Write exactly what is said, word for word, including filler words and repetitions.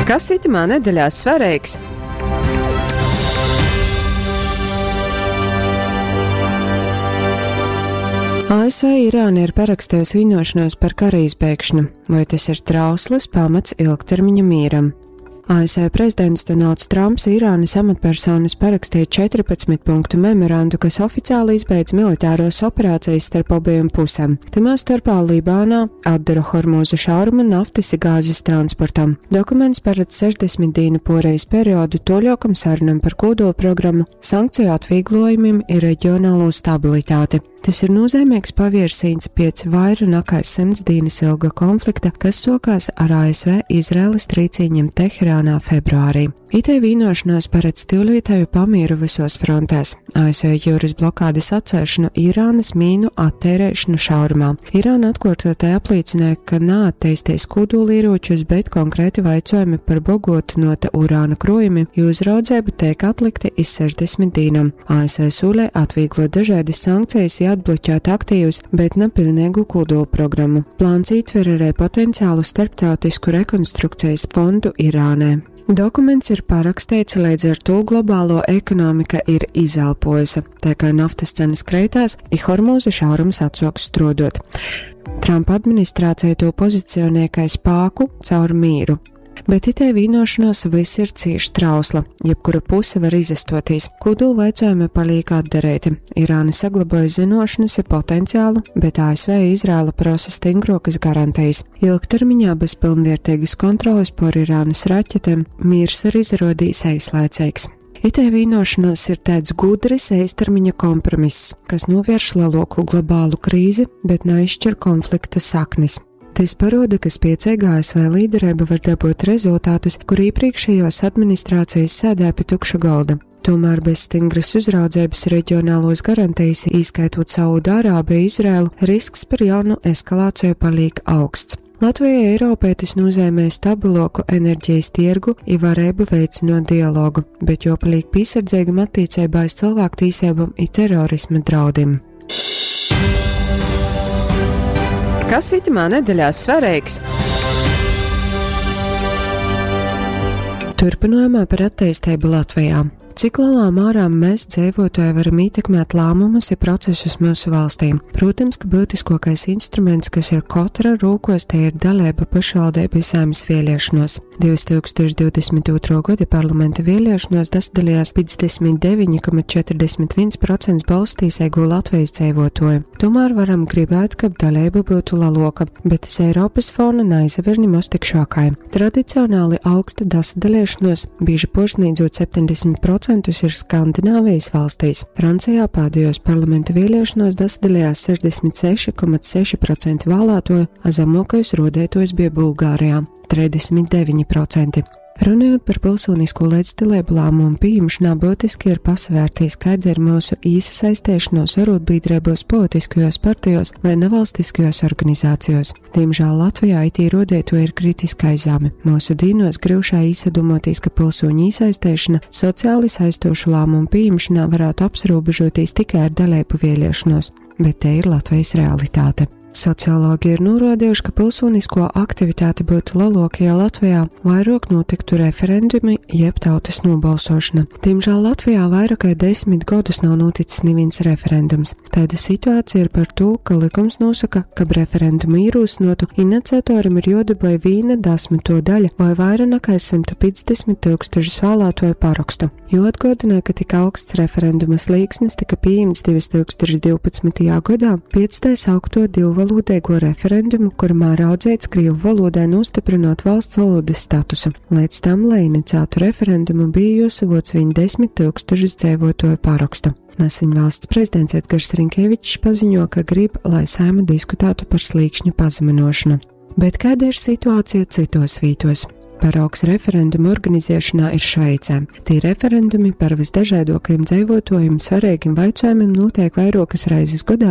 Kas itymā nedeļā svareigs? A S V Irāna ir parakstējusi vienošanos par kara izbeigšanu. Vai tas ir trausls pamats ilgtermiņa mīram? A S V prezidents Donalds Trumps Irānas amatpersonas parakstīja četrpadsmit punktu memorandu, kas oficiāli izbeidz militāros operācijas starp abiem pusēm. Tymā starpā Libānā atdara Hormūza šauruma naftas i gāzes transportam. Dokuments paredz sešdesmit dīnu porejas periodu toļokam sarunam par kodolprogrammu, sankciju atvieglojumiem i reģionālo stabilitāti. Tas ir nozīmīgs paviersīns piec vaira nekā simts dīnas ilga konflikta, kas sokās ar A S V Izraēlas trīcīņiem Teherānā februārī. Itei vienošanās paredz tyulītēju pamieru visos frontēs. A S V jūras blokādes atcelšanu, Irānas mīnu attērēšanu šaurumā. Irāna atkārtotai apliecināja, ka neattīstīs kodolieročus, bet konkrēti vaicojumi par bogotinota urāna krojumiem, jo uzraudzība tiek atlikti iz sešdesmit dīnam. A S V sūlē atvieglot dažādas sankcijas i atbloķēt aktīvus, bet ne pilnīgu kodolprogrammu. Plāns ietver arī potenciālu starptautisku rekonstrukcijas fondu Irānē. Dokuments ir parakstīts, līdz ar to globālo ekonomika ir izelpojusi, tā kā naftas cenas kreitās, i Hormūza šaurums atsoks strodot. Trumpa administrācija to pozicionē kā spāku caur mīru. Bet itei vienošanos viss ir cīši trausla, jebkura puse var izastotīs. Kodolu vaicojumi paliek atdarēti. Irāna saglaboja zinošanas i potenciālu, bet A S V Izraela prosa stingrokas garantijas. Ilgtermiņā bez pilnvērtīgas kontroles por Irānas raķetēm miers arī izrodīs eislaicīgs. Itei vienošanās ir tāds gudrs īstermiņa kompromiss, kas novērš lielāku globālu krīzi, bet neizšķir konflikta saknes. Tas paroda, ka spiecīga A S V līderība var dabūt rezultātus, kur iepriekšējos administrācijas sēdē pie tukša galda. Tomēr bez stingras uzraudzības reģionālos garantijas, īskaitot Saudārābiju, Izraēlu, risks par jaunu eskalāciju paliek augsts. Latvijai Eiropai tas nozīmē stabiloku enerģijas tirgu i varēbu veicinot dialogu, bet jopaliek piesardzīgam attiecībā uz cilvēktiesībām i terorisma draudiem. Kas itamā nedeļā svarīgs? Turpinājumā par attīstību Latvijā. Cik lielā mērā mēs dzīvotāji varam ietekmēt lēmumus i procesus mūsu valstī? Protams, ka būtiskākais instruments, kas ir katra rūkos, te ir dalība pašvaldību Saeimas vēlēšanos. divtūkstoš divdesmit ūtrā gada parlamenta vēlēšanos dasadalījās piecdesmit deviņi komats četrdesmit viens procents balstīsēgo Latvijas dzīvotoju. Tomēr varam gribēt, ka dalība būtu laloka, bet iz Eiropas fona naizaver nimoz tik šākai. Tradicionāli augsta dasadalīšanos, bieži porsniedzot septiņdesmit procentus ir Skandināvijas valstīs. Francijā pēdējos parlamenta vēlēšanos dasadalījās sešdesmit seši komats seši procenti vēlētoju, a zemākais rodētojs bija Bulgārijā – trīsdesmit deviņi procenti. Runājot par pilsonisko līdzdalību lēmumu pieņemšanā, būtiski ir pasvērtīs, kāda ir mūsu īsasaistēšanos arotbiedrībos, politiskajos partijos vai nevalstiskajos organizācijos. Diemžēl Latvijā I T rodēto ir kritiskai zemi. Mūsu dīnos griušā īsadomotīs, ka pilsoņu īsaistēšana sociāli saistošu lēmumu pieņemšanā varētu apsrobežoties tikai ar dalību vēlēšanos, bet te ir Latvijas realitāte. Sociologi ir norādījuši, ka pilsonisko aktivitāte būtu lielāka, ja Latvijā vairāk notiktu referendumi jeb tautas nobalsošana. Diemžēl Latvijā vairāk kā desmit gadus nav noticis neviens referendums. Tāda situācija ir par to, ka likums nosaka, ka referendumu ierosinotu iniciatoram ir jodabūj vīna desmito daļa vai vairāk nekā simt piecdesmit tūkstošus vēlētoju parakstu. Jo atgādināja, ka tik augsts referenduma slīksnis tika pieņemts divtūkstoš divpadsmitajā gadā pēc tā saukto divvalodīgo referendumu, kurmā raudzēts krievu valodai nostiprinot valsts valodas statusu. Līdz tam, lai iniciētu referendumu, bija jāsavoc viņ desmit tūkstošus dzīvotoju parakstu. Nesen valsts prezidents Edgars Rinkēvičs paziņo, ka grib, lai Saeima diskutētu par slīkšņu pazeminošanu. Bet kāda ir situācija citos vītos? Paraugs referendumu organizēšanā ir Šveicē. Tie referendumi par visdažādākajiem dzīvotājiem svarīgiem jautājumiem notiek vairākas reizes gadā,